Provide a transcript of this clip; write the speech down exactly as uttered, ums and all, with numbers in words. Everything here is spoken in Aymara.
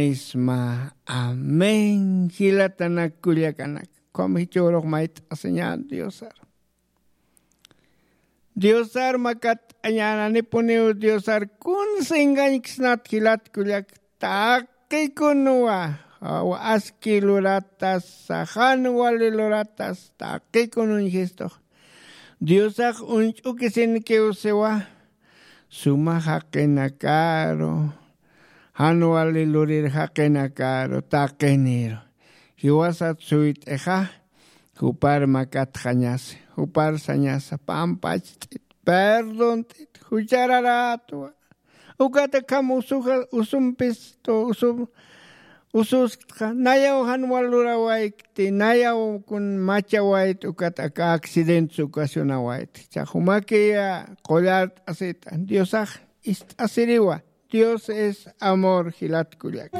Isma. Amén. Jilatanak kullakanak, ukham jichhürux mayt'asiñän diosar. Diosar makatt'añänanipuniw diosar kunsa engañksnat jilat kullak. Taqikunwa, aski luratas, saxan wali luratas taqikunun jistux. Diosax uñch'ukisinkiw siwa. Suma jaqinakaru, jan wali lurir jaqinakaru taqiniru. Jiwasat suyt'ixa, jupar makatxañasi, jupar sañasa pampacht'it, perdont'it, juchararatwa. Ukat akham usuxa usumpistu usum ususkta nayaw jan wal lurawaykti nayaw kun machawayt ukat aka accidentes ocasionawayti chaxumakiya. Qullart'asita diosax ist'asiriwa. Dios es amor jilat kullaka.